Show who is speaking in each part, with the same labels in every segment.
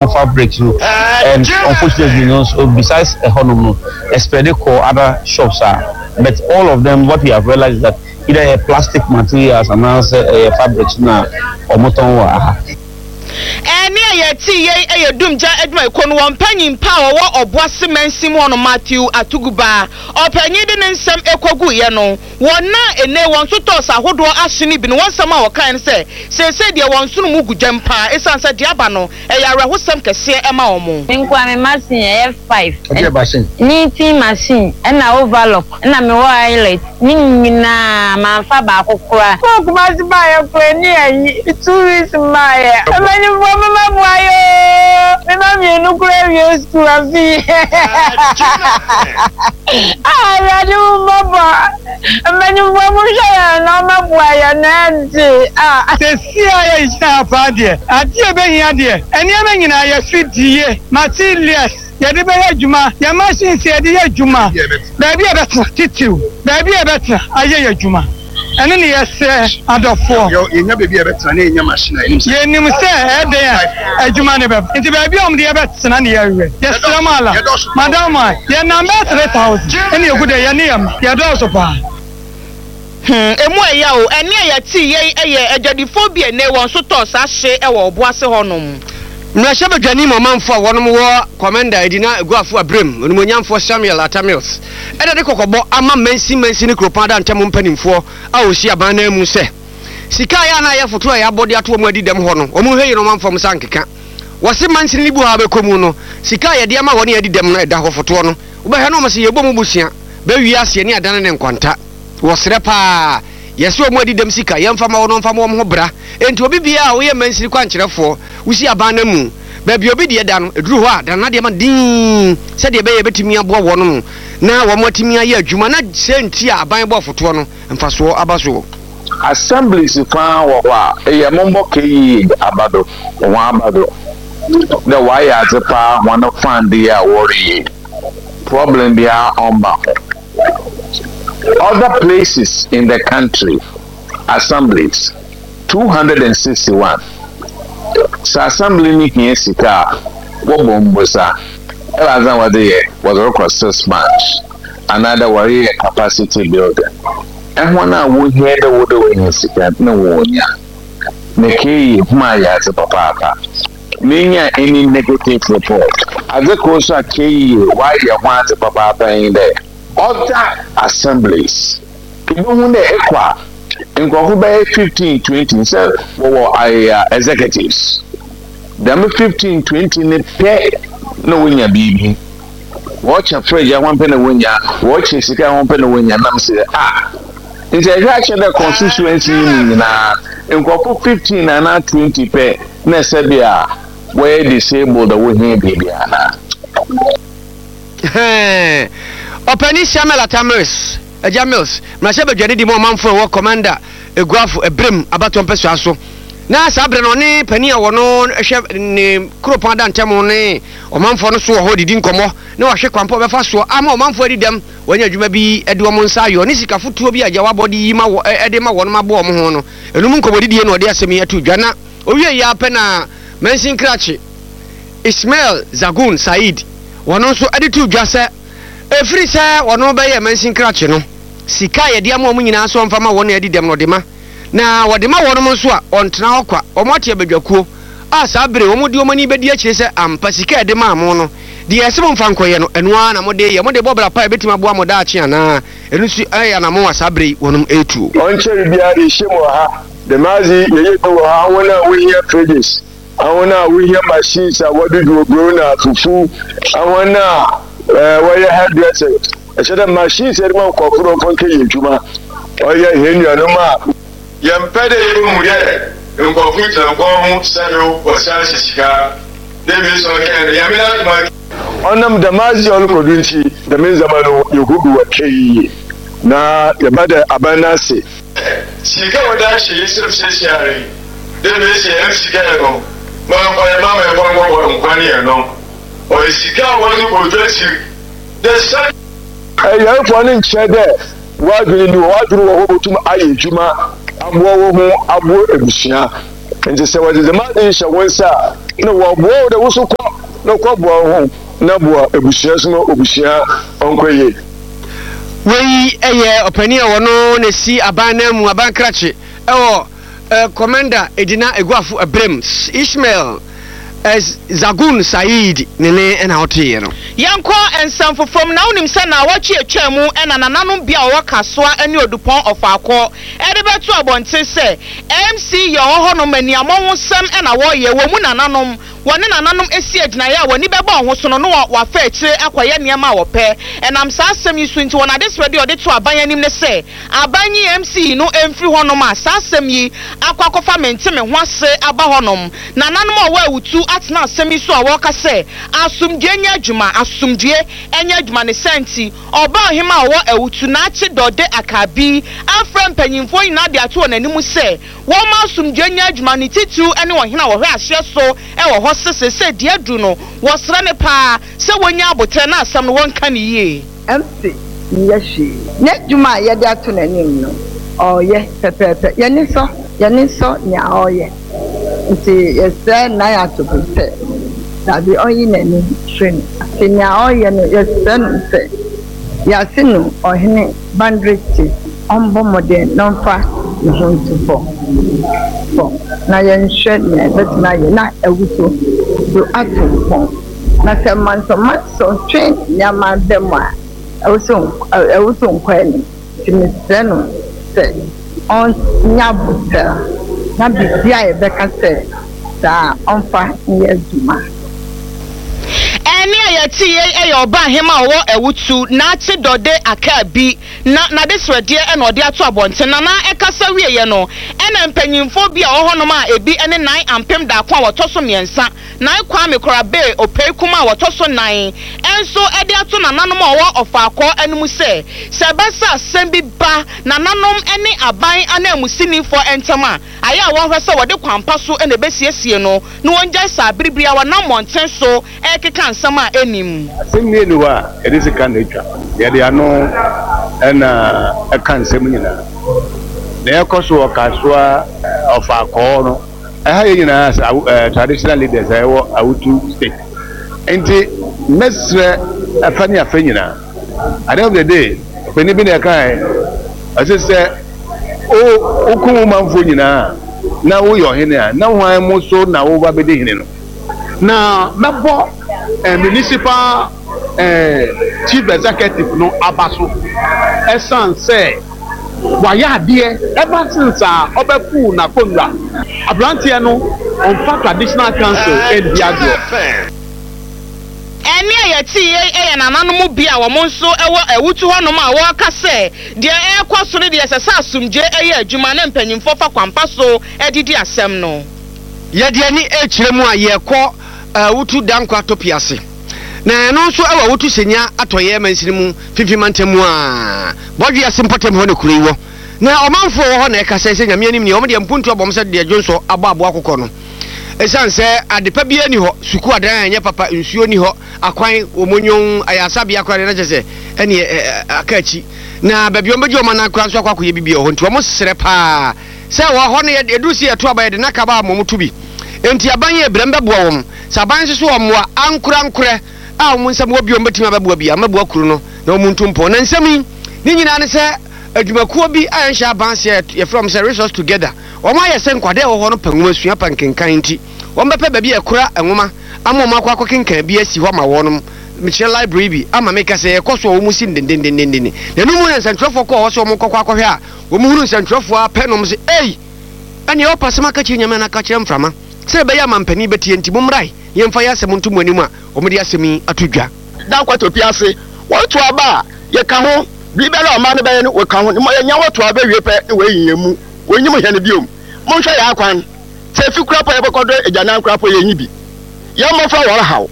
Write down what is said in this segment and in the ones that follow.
Speaker 1: Fabrics no and unfortunately no, so besides ɛhɔnom no ɛspread kɔ other shops a, but all of them, what we have realized is that either ɛyɛ plastic materials anaasɛ ɛyɛ fabrics na wɔn tɔn wɔ aha.
Speaker 2: Ɛnne a yɛtee yei yɛ Dumgya adwumayɛkuo no wɔn panyin pa a ɔwɔ Ɔboase mansin mu hɔ no Matthew Atuguba. Ɔpanyin de ne nsɛm kɔguiɛ no, wɔn a nnɛ wɔn sotɔɔs ahodoɔ ahye no bi no wɔn nsɛm a wɔkaeɛ ne sɛ seesei deɛ wɔn nsono mu gu gyam pa ara ɛsiane sɛ deɛ aba no ɛyɛ awerɛhosɛm kɛseɛ ma wɔn.
Speaker 3: Me nkoa me machine ɛyɛ five.
Speaker 4: Ɛdeɛ machine?
Speaker 3: Knitting machine ɛna overlock ɛna me wɔ eyelet ne nyinaa manfa baako koraa. Kɔɔ Kumasi baayɛ koraa ɛni ayi 2 weeks mmaayɛ. Mpanyinfoɔ mo mɛboa yɛ oo me ma mienu koraa awie school afi yi ah awurade hu mmɔbɔ mpanyinfoɔ mo hwɛ yɛn na ɔmɛboa yɛn na ɛnte ah.
Speaker 5: Seesei a yɛgyina ha paa deɛ, adeɛ a ɛbɛhia deɛ, nneɛma nyinaa, yɛn afidie, materials, yɛde bɛyɛ adwuma, yɛn machines a yɛde yɛ adwuma, baabi a yɛbɛtena titiriw, baabi a yɛbɛtena ayɛ yɛn adwuma, ɛno na yɛsrɛ adɔfoɔ.
Speaker 4: Yɛnya baabi a yɛbɛtena na yɛnya machine a, yɛnim sɛ.
Speaker 5: Yɛnim sɛ ɛyɛ dɛn a adwuma no bɛba, nti baabi a wɔde yɛbɛtena na yɛhwehwɛ. Yɛsrɛ mo ala, madam a, yɛnam bɛyɛ 3000 ɛna yɛgu dɛ, yɛne yɛn mma, yɛdɔɔso paa.
Speaker 2: Hmm, emu ɛya o. Ɛnne a yɛtee yei yɛ adwadifoɔ bi a nnɛ wɔn nso tɔɔ saa hye wɔ Ɔboase hɔnom.
Speaker 6: Mmarahyɛbadwani ma ɔmanfoɔ a wɔnom wɔ Komenda Edina Aguafo Abrem, Onimuonyamfoɔ Samuel Atta Mills na de kɔkɔbɔ ama mansin mansin ne kuropɔn adantam mpanimfoɔ a wɔsi aban no anmu sɛ sika a ɛyɛ a na ayɛ foto a yɛabɔ de ato wɔn adi dɛm hɔ no wɔn nhwɛ yie na wɔn amfa wɔn nsa ankeka. Wɔse mansini no bi wɔ hɔ a wobɛkɔ mu no sika a yɛde ama wɔn a adi dɛm no ɛda hɔ fotoɔ no wobɛhwɛ na wɔn se yɛbɔ mu bosea bɛwie aseɛ ne adane ne nkwanta. Wɔsrɛ paa. Yɛse wɔn adi dɛm sika, yɛmfa ma wɔn na wɔmfa mmɔ wɔn ho bra. Enti obi biara a woyɛ mansini kwankyerɛfoɔ, wosi aban no amu, baabi a obi deɛ da no, ɛduru hɔ a, dane n'adeɛ ma no dinn, sɛdeɛ ɛbɛyɛ a yɛbɛtumi aboa wɔnom na wɔn atumi ayɛ adwuma na sɛ nti a aban bɔ afotoɔ no mfasoɔ aba soɔ.
Speaker 7: Assemblies faa wɔ hɔ a, eyɛ mombɔ KEA aba do, hɔn aba do dɛ wɔayɛ adze paa hɔn fund yi a wɔreyɛ yi, problem biara ɔmmba ho. Other places in the country, assemblies, 261 Sɛ assembly no hia sika a, wɔbɔ mbosa. Ebɛnadze na wɔdze yɛ? Wɔdze rokɔ six months anaadɛ wɔreyɛ capacity building. Hɔn a wohia dɛ wɔdɛ wonya sika no na wonya. Na KE, hom ayɛ adze papaapa. Minnya any negative report. Adze kor so a KE ɔayɛ ho adze papaapa nye dɛ, other assemblies, ibohu dɛ ekɔ a, nkorɔfo bɛyɛ 15, 20, sɛ wɔwɔ executives, dɛm 15, 20 no pɛ na wonya biribi. Wɔkyɛ fridge a hɔn pɛ na wonya, wɔkyɛ sika a hɔn pɛ na wonya, na mese dɛ ah, ntsi ehwɛ a kyerɛ dɛ constituency yi mu nyina nkorɔfo 15 anaa 20 pɛ na sɛ bi a wɔyɛ disabled a wohia biribi anaa.
Speaker 6: Hɛn Ɔpanyin Samuel Atta Mills, Agya Mills, mmarahyɛbadwani di ma ɔmanfo a ɛwɔ Komenda Eguafo Ebrem abatoɔ mpɛsoa so. Na saa berɛ no ɔne panin a wɔno hwɛ ne kuropɔn adantam ne ɔmanfoɔ no so wɔ hɔ redidi nkɔmmɔ na wahwɛ kwan pa a ɔbɛfa soɔ ama ɔmanfoɔ adi dɛm, wɔanya adwuma bi de wɔn nsa ayɔ ne sika fotoɔ bi a agya wabɔ de yi ma wɔ de ma wɔn aboa wɔn ho no. Ɛno mu nkɔmmɔdidie na ɔde asɛm yi ato dwa na ɔwieeɛ ara pɛ na Mansin Krakye Ismail Zagun Said wɔno nso de too dwa sɛ ɛfiri sɛ wɔno bɛyɛɛ Mansin Krakye no sika a yɛde ama wɔn nyinaa sɛ wɔmfa ma wɔn a adi dɛm no ɔde ma na wɔde ma wɔnom nso a ɔntena hɔ kwa, wɔn ate abadwakuo a saa bere wɔn de wɔn ani bɛdi akyire sɛ ampa sika a yɛde maa mo no deɛ ɛsɛ momfa nkɔyɛ no ɛno ara na mode yɛ, mode bɔ bra pa a ɛbɛtumi aboa mo daakye anaa, ɛno nso yɛ anammɔn a saa bere yi wɔnom retuo.
Speaker 8: Ɔnnkyɛr biara yɛhyia mu wɔ ha. Dɛm adze yi yɛyɛ bi wɔ ha, hɔn a wohia fridges, hɔn a wohia machines a wɔdze dwow eburow na fufu, hɔn a wɔyɛ hairdressers, kyerɛ dɛ machines a yɛdze ma nkorɔfo dɛ wɔmfa nkɛyɛ edwuma. Ɔyɛ hɛn nuanom a.
Speaker 9: Yɛmmpɛ dɛ yebohu dɛ nkorɔfo gyina kwan ho sɛ do wɔsan hyɛ sika. Dɛ mesi ɔkɛn no, Nyame n'adom a.
Speaker 8: Ɔnam dɛm adze a ɔrokɔ do ntsi, dɛm ndzɛmba no yehu bi wɔ KEA na yɛbɛda aban no ase.
Speaker 9: Sika a wɔdze ahyɛ hɛn nsamu seseiara yi, dɛ mesi hɛn sika yɛ no, ma ɔmfa yɛn mma ma yɛmfa nkɔbɔ nkwan yɛn no, ɔyɛ sika a wɔdze bɔ dwa tsir dɛ sɛ.
Speaker 8: Ayarfo no nnkyerɛ dɛ w'adwen nnyi hɔ, w'adwen wɔ hɔ botum ayɛ edwuma aboa woho, aboa ebusua. Ntsi sɛ wɔdze dɛm adze yi hyɛ wo nsa a, nna wɔboa wo dɛ wo so kɔ na kɔboa woho na boa ebusua so ma obusua ɔnkɔ yie.
Speaker 6: Wei yɛ ɔpanin a ɔno na ɛsi aban nan mu, aban krakye wɔ Komenda Edina Eguafo Ɛberem, Ishmael Zagun Saeed ne ne na woteeɛ no.
Speaker 2: Yɛnkɔ nsɛm foforɔ mu, na wonim sɛ naawɔtwe a ɛtwaa mu na nananom bi a wɔwɔ Kasoa ne Odupɔn Ɔfaakɔ de bɛtoo abɔnten sɛ MC yɛ ɔwɔ hɔnom aniammɔhosɛm na wɔreyɛ, wɔn mu nananom wɔne nananom si agyinaeɛ a wɔn ani bɛba wɔn ho so no na wɔafa akyire akɔyɛ nneɛma a wɔpɛ. Ɛnam saa asɛm yi so nti, wɔn adesrɛdeɛ a wɔde too aban anim ne sɛ aban nyi MC no mfiri hɔnom a saa asɛm yi akɔ akɔfa mente-me-ho-ase aba hɔnom. Nananom a wɔwɔ awutu atena asɛm yi so a wɔreka sɛ, Asomdwoeɛ nyɛ adwuma, asomdwoeɛ nyɛ adwuma. Ne saa nti, ɔbaa ɔhemmaa a ɔwɔ awutu, Naakye Dɔde Akabi, afrɛ mpanimfoɔ nyinaa de ato wɔn anim sɛ, Wɔmma asomdwoe nyɛ adwuma, ne titiriw ne ɔhene a ɔhwɛ ahyeɛ so wɔ hɔ se seesei deɛ aduru no, wɔsrɛ no paa sɛ wɔnya aboterɛ na asɛm no wɔnka no yie.
Speaker 10: MC nyɛ hwee. N'adwuma a yɛde ato n'anim no, ɔreyɛ pɛpɛɛpɛ. Yɛn ani sɔ, yɛn ani sɔ nea ɔreyɛ. Nti yɛsrɛ Nana Atope sɛ, dabi, ɔnyi n'ani mfiri no. Nti nea ɔreyɛ no, yɛsrɛ no sɛ, yɛase no ɔhene Boundary Chief. Ɔmbɔ mbɔden na ɔmfa ne ho nto hɔ hɔ na yɛnhwɛ nea yɛbɛtumi ayɛ na awuso do ato mpɔn. Na sɛ mantɔmantɔ twe nneɛma ba mu a, awuso awuso nkɔ anim. Nti mesrɛ no sɛ ɔnyɛ aboterɛ na biribiara a yɛbɛka sɛ saa a, ɔmfa nyɛ adwuma.
Speaker 2: Ɛnne a yɛte yei yɛ ɔbaa hema a ɔwɔ Awutu, Naakye Dɔde Akaabi. Na n'adesrɛdeɛ na ɔde ato abɔnten. Na na ɛkasa wieeɛ no, ɛna mpanyimfoɔ bi a wɔwɔ hɔnom a ebi ne Nan Ampem Daako a wɔtɔ so mmiɛnsa, Nan Kwame Korabee Opei Kuma a wɔtɔ so nnan nso de ato nananom a wɔwɔ Ɔfaakɔɔ anim sɛ, sɛ ɛba sɛ asɛm bi ba nananom ne aban ananmusinifoɔ ntam a, ayɛ a wɔnhwɛ sɛ wɔde kwan pa so na ɛbɛsiesie no na wɔngyae saa bere biara wɔnam mmɔnten so rekeka nsɛm a ɛnnim.
Speaker 11: Asɛm biara nni hɔ a yɛde sika na etwa. Yɛde ano na ɛka nsɛm nyinaa. Nea ɛkɔ so wɔ Kasoa Ɔfaakɔɔ no, ɛha yɛn nyinaa as traditional leaders a yɛwɔ Awutu State. Nti mɛsrɛ afa ne afa nyinaa. At the end of the day, ɔpanin bi na ɛkae, ɔse sɛ wokum wo manfoɔ nyinaa a, na woyɛ ɔhene a, na hwan mo so na woba bɛdi hene no?
Speaker 12: Na mɛbɔ Municipal Chief Executive no aba so ɛsiane sɛ wayɛ adeɛ ever since a ɔbɛpoo n'akonnwa. Aberanteɛ no ɔmfa Traditional Council ndi agorɔ.
Speaker 2: Ɛnne a yɛtee yei yɛ nananom bi a wɔn nso wɔ awutu hɔnom a wɔreka sɛ deɛ ɛrekɔ so no deɛ ɛsɛ sɛ asomdwoeɛ yɛ adwuma na mpanimfoɔ fa kwampa so de di asɛm no.
Speaker 6: Yɛde ani rekyerɛ mu a, yɛrekɔ Awutu Dankwa Topi ase, na ɛno nso wɔ Awutu Senya Atɔeɛ mansini mu, Finfin mantam mu a Bɔdwe ase mpɔtam hɔ na kuro yi wɔ. Na ɔmanfoɔ a wɔwɔ hɔ na ɛkasa yi sɛ Nyame anim nie, wɔn deɛ mpuntuo abɔ wɔn sɛ deɛ dwonsɔ abɔ aboa kokɔ no. Ɛsiane sɛ adepa biara nni hɔ, sukuu adan a ɛnyɛ papa, nsuo nni hɔ, akwan wɔ monyon, ayaresabea koraa deɛ na kyerɛ sɛ ɛneɛ aka akyi. Na baabi a wɔbɛgye wɔn anan koraa nso akɔ akɔyɛ biribi wɔ hɔ nti wɔsrɛ paa. Sɛ wɔ hɔ no yɛ ɛduru sɛ yɛto aba yɛde naka ba ama wɔn to bi. Enti aban yɛ brɛ mbɛboa wɔn. Sɛ aban nso so wɔmmoa ankorankorɛ a wɔn nsam wɔ bi a wɔbɛtumi abɛboa bi a mmɛboa kuro no na wɔn ntu mpɔn. Na nsɛm yi ne nyinaa ne sɛ adwumakuo bi a ɛnhyɛ aban ase a yɛfrɛ wɔn sɛ Resource Together wɔn ayɛ sɛ nkwadaa a ɛwɔ hɔ no pɛ nwoma sua pɛ nkenkan nti wɔn bɛpɛ baabi a ɛkora nwoma ama wɔn akɔ akɔkenkan bi asi hɔ ama wɔnom mekyerɛ library bi ama meka sɛ ɛkɔ so a wɔn si no dendendenden na ɛno mu na nsɛntwerɛfoɔ kɔɔ hɔ sɛ wɔn kɔkɔ akɔhwɛ a Wɔn hunu nsɛntwerɛfoɔ ara pɛ na wɔn se, Ei! Ɛneɛ ɔpɛ asɛm aka kyerɛ Nyame anaa ka kyerɛ mframa? Sɛ ɛbɛyɛ a mampanin bɛtie nti, momrae na yɛmfa yɛn asɛm nto mo anim a wɔde asɛm yi ato dwa.
Speaker 4: Dankwa Topi ase, wɔto aba a, yɛka ho, biribiara a ɔman no bɛyɛ no, wɔka ho, ma yɛnya wɔto aba wie pɛ na wɔayi yɛn mu, wɔnnyim hɛn bio. Monhwɛ yɛn akwan, sɛ efi koraa po a yɛbɔkɔ do egyanan koraa po yennyi bi. Yɛn mbofra wɔrehaw.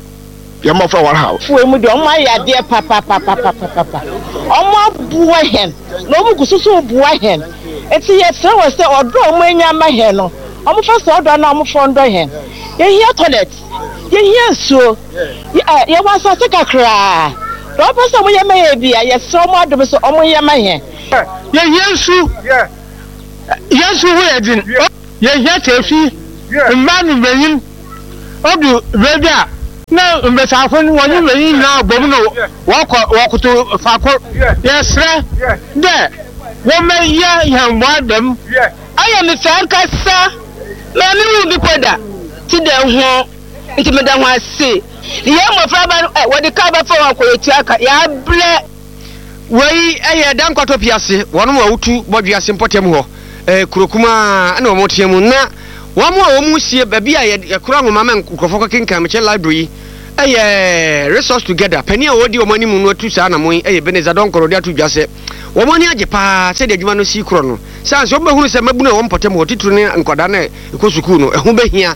Speaker 4: Yɛn mmɔfra wɔn haw.
Speaker 2: Wei mu deɛ ɔmo ayɛ adeɛ papapapapapa. Ɔmo aboa hɛn na ɔmo gu so so boa hɛn. Ntsi yɛserɛ hɔn sɛ ɔdɔ a ɔmo enya ama hɛn no, ɔmo fa saa ɔdɔ no na ɔmo fa ndɔ hɛn. Yehia toilet, yehia nsuo, yɛwɔ asaase kakraa. Deɛ ɔmo pɛ sɛ ɔmo yɛ ma hɛn bia, yɛserɛ ɔmo adom sɛ ɔmo nyɛ ma hɛn.
Speaker 12: Yehia nsu, yɛn nsu ho yɛ dzen. Yehia teefi.
Speaker 5: Mbaa no mbanyin, odu beebi a na mbasiafo no wɔnye mbanyin nyina bɔ mu na wɔkɔ wɔkotow fakor. Yɛserɛ dɛ wɔmbɛyɛ hɛn mboa dɛm.
Speaker 13: Ɔyɛ me fɛ ankasa ma mennhun bi mpo da tse dɛ hɔn, ntsi meda hɔn ase. Hɛn mboframba no, wɔdze kaar bɛfa hɔn akɔ yetua ka, yɛaberɛ.
Speaker 6: Wei yɛ Dankwatɔ Piase, wɔnom a wotu Bɔdwe ase mpɔtam hɔ, kuro kumaa na wɔn teɛ mu. Na wɔn a wɔn sie baabi a yɛkora nwoma ma nkurɔfoɔ kɔkenkan, mekyerɛ library yi, yɛ Resource Together. Panin a ɔdi wɔn anim no atu saa anamon yi yɛ Ebenezer Donkor, ɔde ato dwa sɛ wɔn ani agye paa sɛdeɛ adwuma no si korɔ no. Sane sɛ wɔbɛhunu sɛ mmabunu a wɔn mpɔtam hɔ, titiriw ne nkwadaa no a ɛkɔ sukuu no, ɛho bɛhia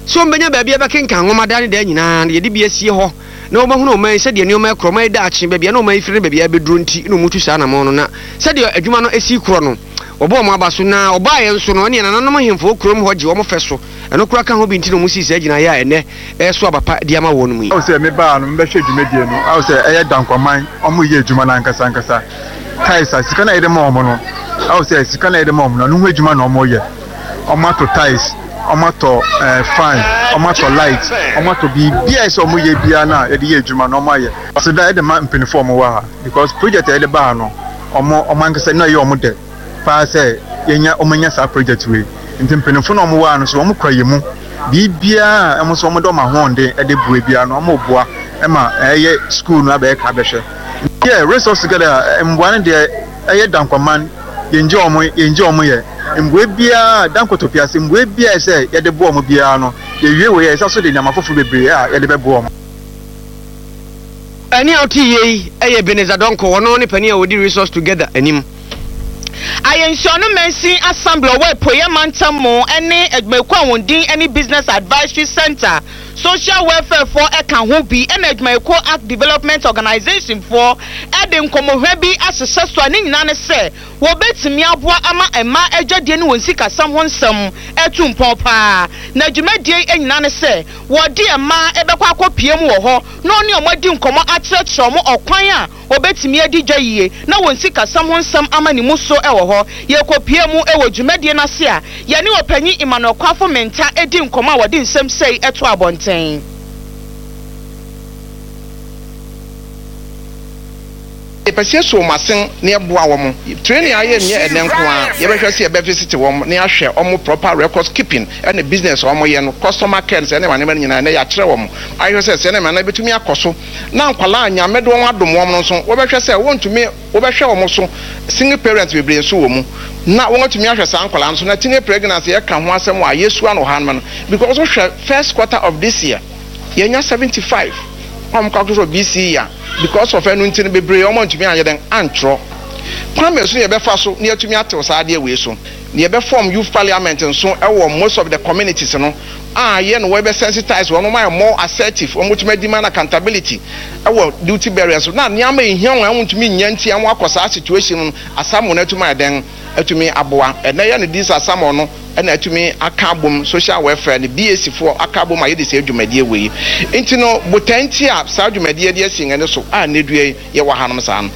Speaker 6: sɛ wɔbɛnya baabi a bɛkenkan nwoma daa ne daa nyinaa no, yɛde bi asie hɔ. na wɔbɛhunu ɔman yi sɛdeɛ nneɛma rekorɔ, ɔman yi daakye, baabi a na ɔman yi firi ne baabi a ɛrebɛduro nti na wɔtu saa anammɔn no, na sɛdeɛ adwuma no si rekorɔ no, wɔbɔ wɔn aba so, na wɔbaeɛ nso no, ɛnneɛ nananom ahemfo wɔ kurom hɔ gye wɔn fɛ so, ɛno koraa ka ho bi nti na wɔsii saa gyinaeɛ a ɛnnɛ ɛreso aba pa de ama wɔn yi.
Speaker 9: Ahu sɛ me baa no mebɛhwɛ dwumadie no ahu sɛ ɛyɛ Dankwaman ɔmo yɛ adwuma no ankasa ankasa tiles a sika no a yɛde ma ɔmo no ahu sɛ sika no a yɛde ma ɔmo no ɛno ho adwuma na ɔmo yɛ ɔmo ato tiles ɔmo atɔ ɛɛ fan ɔmo atɔ light ɔmo atɔ biribiara a ɛsɛ ɔmo yɛ biara no a yɛde yɛ adwuma no ɔmo ayɛ aseda yɛde ma mpanyinfoɔ a ɔmo wɔ ha because project a yɛde ba ha no ɔmo ɔmo ankasa no ɛyɛ ɔmo dɛ paa sɛ yɛnya ɔmo anya saa project wei nti mpanyinfoɔ no a ɔmo wɔ ha no so ɔmo kura yɛ mu biribiara a ɔmo nso ɔmo de ɔmo ahoɔden ɛde boa biara no ɔmo boa ɛma ɛyɛ school no abɛyɛ krabɛhwɛ yɛ resource together mboa no deɛ ɛyɛ dankwaman yɛngye wɔn yɛngye wɔn yɛ mboa biara da nkotopia ase mboa biara ɛsɛ yɛde boa wɔn biara no yɛwie wei a yɛsa so de nneɛma foforɔ bebree a yɛde bɛboa wɔn.
Speaker 6: Ɛnne a wote yei yɛ Ebenezer Donkor, ɔno ne panin a ɔdi Resource Together anim.
Speaker 2: Ayensuano Mansin Assembly a ɔwɔ Apueeɛ Mantam mu ne adwumayɛkuo a wɔn din ne Business Advisory Centre, Social Welfare foɔ ka ho bi na adwumayɛkuo Ark Development Organisation foɔ de nkɔmmɔhwa bi ahyehyɛ so a ne nyinaa ne sɛ wɔbɛtumi aboa ama mmaa adwadie ne wɔn sikasɛm ho nsɛm atu mpɔn pa ara. Na dwumadie yi nyinaa ne sɛ wɔde mmaa bɛkɔ akɔpue mu wɔ hɔ na wɔne wɔn adi nkɔmmɔ akyerɛkyerɛ wɔn ɔkwan a wɔbɛtumi adi dwa yie na wɔn sikasɛm ho nsɛm ama ne mu so wɔ hɔ. Yɛkɔpue mu wɔ dwumadie no ase a, yɛne Ɔpanyin Emmanuel Kwafo Mintah di nkɔmmɔ a wɔde nsɛm sei to abɔnten.
Speaker 14: Yɛpɛ sɛ yɛso wɔn asen na yɛboa wɔn. Training a yɛnyɛ ɛnnɛ nko ara, yɛbɛhwɛ sɛ yɛbɛ visit wɔn na yɛahwɛ wɔn proper records keeping ne business a wɔyɛ no, customer care ne saa nneɛma nneɛma no nyinaa ɛnnɛ yɛakyerɛ wɔn ahwɛ sɛ saa nneɛma no ɛbɛtumi akɔ so na nkwadaa a Nyame de wɔn adom wɔn no nso wɔbɛhwɛ sɛ wɔntumi wɔbɛhwɛ wɔn so, single parents bebree nso wɔ mu na wɔatumi ahwɛ saa nkwadaa no so na teenage pregnancy yɛka ho asɛm wɔ a yɛsua no wɔ ha nom no because wohwɛ first quarter of this year yɛnya 75 a wɔn calculate wɔ BCE a because of ɛno nti no bebree wɔn antumi anyɛ dɛn antwerɛ. Kwan bɛn so na yɛbɛfa so na yɛatumi atew saa adeɛ wei so? Na yɛbɛ form youth parliament nso wɔ most of the communities no a yɛ no wɔbɛ sensitize wɔn, wɔn ayɛ more assertive, wɔn bɛtumi adi man accountability wɔ duty bearers so na nneɛma a ehia wɔn a wɔntumi nnya nti a wɔakɔ saa situation no Asamoah no atumi ayɛ dɛn atumi aboa. Ɛnɛ yɛ no this Asamoah no na atumi aka abom social welfare ne BAC foɔ aka abom a yɛde saa dwumadie wei nti no botae nti a saa dwumadie de asi yɛn ani so a nnɛ dua yi yɛwɔ hanom saa no.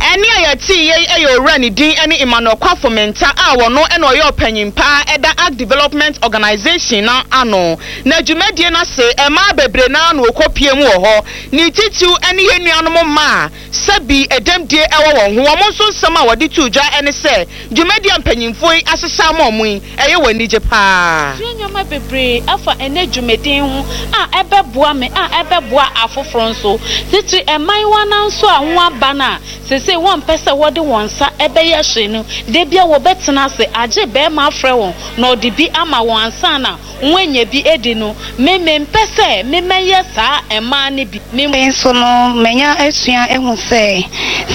Speaker 2: Ɛnne a yɛtee yei yɛ Owura ne din ne Emmanuel Kwafo Mintah a ɔno na ɔyɛ ɔpanyin pa ara da Ark Development Organization no ano. Na dwumadie no ase mmaa bebree no ara na wɔkɔpue mu wɔ hɔ, ne titiriw ne yɛn nuanom mmaa a Sɛ bi dɛmdie wɔ wɔn ho. Wɔn nso nsɛm a wɔde too dwa ne sɛ, dwumadi a mpanyimfoɔ yi ahyehyɛ ama wɔn yi, ɛyɛ wɔn anigye pa ara.
Speaker 15: Masua nneɛma bebree afa ɛnnɛ dwumadi ho a ɛbɛboa me a ɛbɛboa afoforo nso, titiri mmaayewa no ara nso a wɔaba no a seesei wɔmpɛ sɛ wɔde wɔn nsa bɛyɛ hwee no, da biara wɔbɛtena ase agye barima afrɛ wɔn na ɔde bi ama wɔn ansa na wɔanya bi adi no, me mempɛ sɛ memɛyɛ saa mmaa no bi. Me.
Speaker 16: Afei nso no, manya asua ahu sɛ,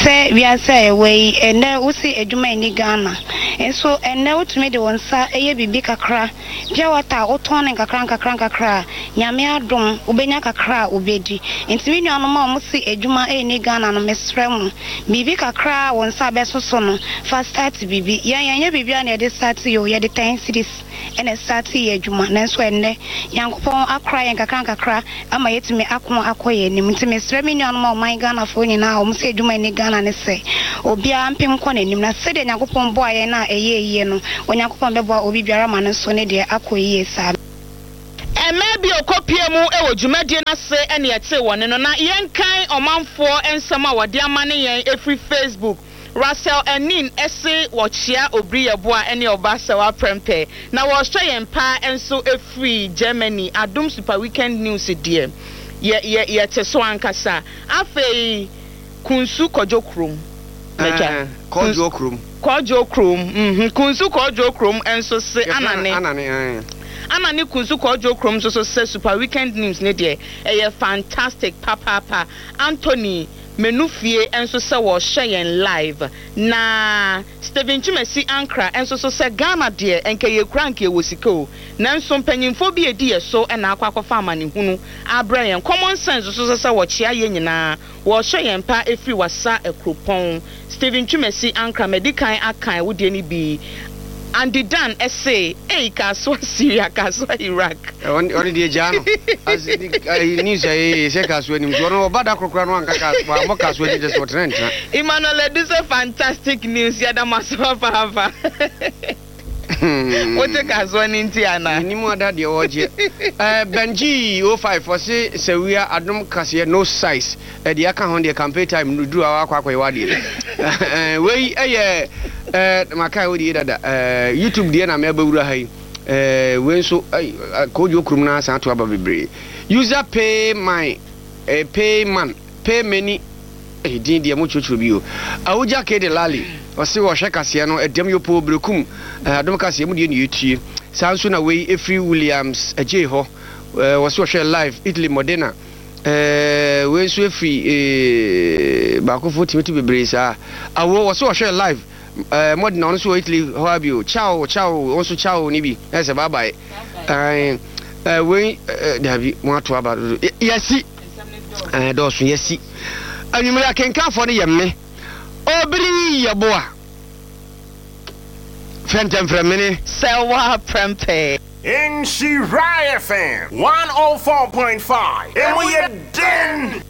Speaker 16: sɛ wiase a yɛwɔ yi, ɛnnɛ wose adwuma nni Ghana, nso ɛnnɛ wotumi de wo nsa yɛ biribi kakra, pure water a wotɔn no nkakra nkakra nkakra a, Nyame adom wobɛnya kakra a wobɛdi. Nti me nuanom a wɔse adwuma nni Ghana no, mesrɛ mo, biribi kakra a wo nsa bɛso so no, fa start biribi. Yɛn yɛnyɛ biribiara na yɛde start o, yɛde ten cedis. na ɛstartee yɛ adwuma nanso ɛnnɛ Nyankopɔn akora yɛn nkakra nkakra ama yɛatumi ako akɔ yɛn anim nti mesrɛ me nuanom a ɔman Ghanafoɔ nyinaa a wɔn sɛ adwuma nni Ghana ne sɛ obiara mpem nkɔ n'anim na sɛdeɛ Nyankopɔn boa yɛn a ɛyɛɛ yie no Onyankopɔn bɛboa obi biara ma no nso ne deɛ akɔ yie saa.
Speaker 2: Mmaa bi a ɔkɔpuee mu wɔ dwumadie no ase ne yɛtee wɔn nne no. Na yɛnkan ɔmanfoɔ nsɛm a wɔde amane yɛn ɛfiri Facebook. Russell Anin se wɔkyea Obiri Yeboah ne Ɔba Sɛwa Prɛmpɛ. Na wɔrehwɛ yɛn paa nso ɛfiri Germany. Adom Super Weekend News deɛ, yɛ, yɛ, yɛte so ankasa. Afei Kunsu Kɔdwo Kurom. M'agya.
Speaker 6: Kɔdwo Kurom.
Speaker 2: Kɔdwo Kurom, mhm, Kunsu Kɔdwo Kurom nso se
Speaker 6: Yɛfrɛ no
Speaker 2: Anane.
Speaker 6: Anane, ae.
Speaker 2: Anane Kunsu Kɔdwo Kurom nso so sɛ Super Weekend News no deɛ, ɛyɛ fantastic papaapa. Anthony Menufie nso sɛ wɔrehwɛ yɛn live. Na Stephen Twumasi Ankrah nso so sɛ Ghana deɛ nka yɛkura anka yɛwɔ sika o, nanso mpanyinfoɔ bi adi yɛ so na akɔ akɔfa amanehunu abrɛ yɛn. Common Sense nso so sɛ wɔkyea yɛn nyinaa, wɔrehwɛ yɛn paa ɛfiri Wassa Akuropɔn. Stephen Twumasi Ankrah madi kan akan wo deɛ no bi. Andy Dan se, Ei Kasoa Syria, Kasoa Iraq.
Speaker 6: Ɔno deɛ gyaa no. As ayi news a yɛyɛ sɛ Kasoa nim so ɔno ɔba da koro koraa no anka Kasoa wammɔ Kasoa din kyɛ sɛ ɔtena ntena.
Speaker 2: Emmanuel Adu sɛ fantastic news yɛda mo ase papaapa. Wote Kasoa no nti anaa?
Speaker 6: Menim ada deɛ ɔregyeɛ. Eh, Benji 05 ɔse Sawia adom kaseɛ no size. Eh, deɛ aka ho deɛ campaign time no duru a wakɔ akɔyɛ w'adeɛ. Eh, wei ɛyɛ eh, makae wo deɛ dada. Eh, YouTube deɛ na mɛbɛwura ha yi. Eh, wei nso, eh, Kojo kurom no asan ato aba bebree. User pay my, eh, pay man, pay many, eh, din deɛ mo kyerɛkyerɛ bi o. Awugya K de Lali, ɔse wɔhwɛ kaseɛ no, ɛdɛm yopoo berekum, eh, adom kaseɛ mu deɛ ne yɛtie. Saa nso na wei ɛfiri Williams Agyei hɔ, eh, wɔse wɔhwɛ live, Italy Modena. Eh, wei nso ɛfiri eh, baakofoɔ tumi to bebree saa. Awo, wɔse wɔhwɛ live. Eh, Modena ɔno nso wɔ Italy hɔ ara bio. Ciao, ciao, wo nso ciao ne bi. Ɛyɛ sɛ bye bye. Ɛɛ, eh, wei, eh, dabi, mo ato aba dodo. Yɛsi. Eh, dɔɔso, yɛsi. Anwummere akenkanfoɔ no yɛ me. Obiri yɛboa. Fɛntɛmfrɛmene.
Speaker 2: Sɛ woaprɛmpɛ.
Speaker 17: Nhyira FM 104.5, emu yɛ den!